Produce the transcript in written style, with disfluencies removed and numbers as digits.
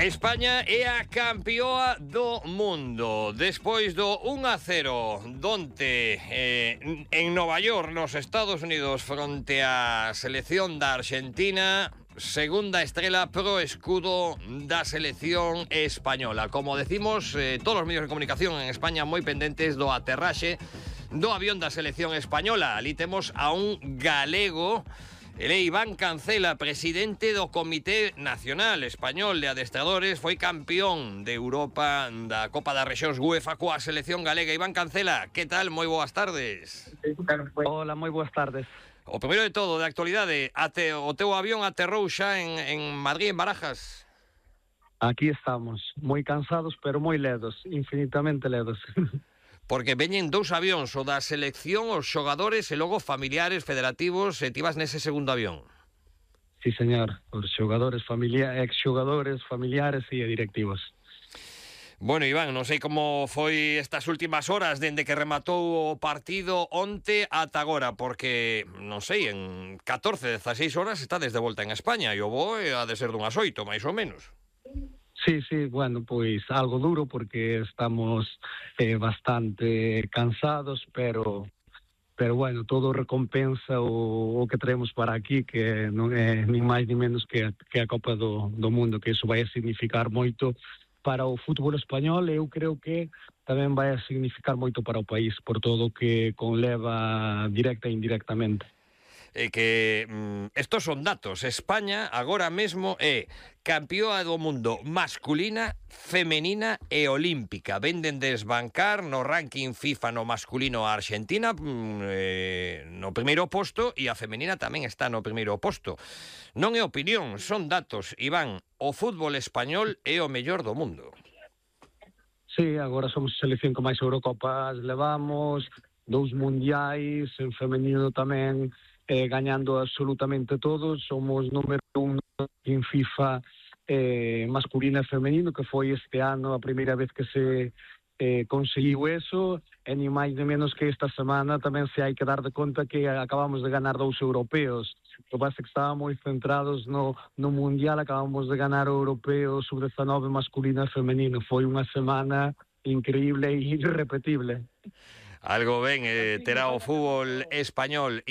España é a campeoa do mundo despois do 1-0 donte en Nova York, nos Estados Unidos, fronte á selección da Argentina. Segunda estrela pro escudo da selección española. Como decimos, todos os medios de comunicación en España moi pendentes do aterraxe do avión da selección española. Ali temos a un galego. Ele é Iván Cancela, presidente do Comité Nacional Español de Adestradores, foi campeón de Europa da Copa das Rexións UEFA coa selección galega. Iván Cancela, que tal? Moi boas tardes. Hola, moi boas tardes. O primeiro de todo, de actualidade, o teu avión aterrou xa en Madrid, en Barajas? Aquí estamos, moi cansados, pero moi ledos, infinitamente ledos. Porque veñen dous avións, o da selección, os xogadores e logo familiares, federativos, e ti vas nese segundo avión. Sí, señor, os xogadores, exxogadores, familiares e directivos. Bueno, Iván, non sei como foi estas últimas horas dende que rematou o partido onte ata agora, porque, non sei, en 14, 16 horas está desde volta en España e o voo ha de ser dunhas 8, máis ou menos. Sí, bueno, pois algo duro porque estamos bastante cansados, pero bueno, todo recompensa o que traemos para aquí, que non é nin máis nin menos que a Copa do Mundo, que iso vai a significar moito para o fútbol español e eu creo que tamén vai a significar moito para o país, por todo o que conleva directa e indirectamente. Que estos son datos. España agora mesmo é campeoa do mundo masculina, femenina e olímpica. Venden desbancar no ranking FIFA no masculino a Argentina no primeiro posto, e a femenina tamén está no primeiro posto. Non é opinión, son datos. Iván, o fútbol español é o mellor do mundo. Sí, agora somos a selección que máis Eurocopas levamos, 2 mundiais, en femenino tamén, gañando absolutamente todos. Somos número 1 en FIFA masculino e femenino, que foi este ano a primeira vez que se conseguiu eso, e ni máis ni menos que esta semana tamén se hai que dar de conta que acabamos de ganar 2 europeos. O que pasa é que estábamos moi centrados no Mundial, acabamos de ganar o europeo sub-19 masculino e femenino. Foi unha semana increíble e irrepetible. Algo ben terá o fútbol español.